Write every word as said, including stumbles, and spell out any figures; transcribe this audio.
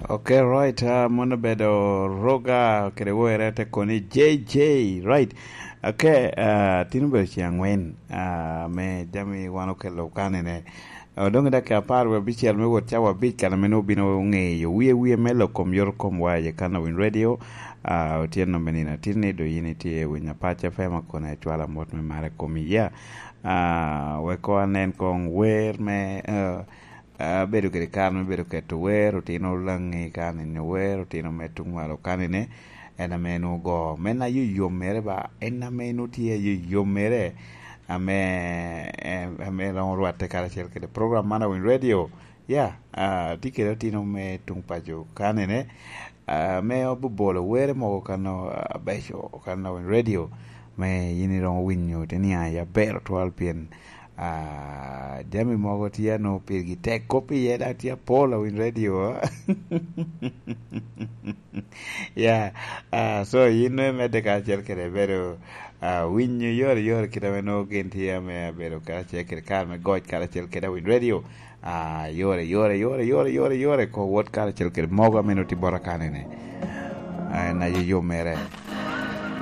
Ok, right. Uh, mon obedo Roga kede were te koni J J, right. Ok, uh, tin obedo ceng angwen, uh, me jami wan okelo kanene. Uh, dong i dakika apar wie abicel me wot cawa abic kan ame obino ngeyo wie wie me lok kom yot kom wa i kan Win Radio. Uh, otyeno me nino atin ni do yin itye i winy apac F M akona icwala mot me mare kom iya. Uh, weko anen kong wer me uh, abedo kede kare me bedo keto wer, otino Langi ka nino wer, otino me tuŋ malo ka nine, en ame en ogo. Me na yoyom mere ba, en ame en otye yoyom mere, ame, em, ame romo rwatte karacel kede program man Awiny Radio. Ya, ah, tye kede otino me tuŋ paco ka nine, ah, ame obobolo were mogo kano abeco kano Awiny Radio. Me yin iromo winyo te niaŋ ya ber otwal pien Ah, jami mogo tye a nwoŋo pirgi tek kop iye, dok tye apol Awiny Radio. Ya, ah, so yin nwoŋo imedde karacel kede bedo, ah, winyo yore yore kit ame nwoŋo gin tye ame abedo karacel kede kare me goc karacel kede Awiny Radio. Ah, yore, yore, yore, yore, yore, yore, ko wot karacel kede mogo ame nwoŋo tye bota kanene. Ah, en aye yo mere.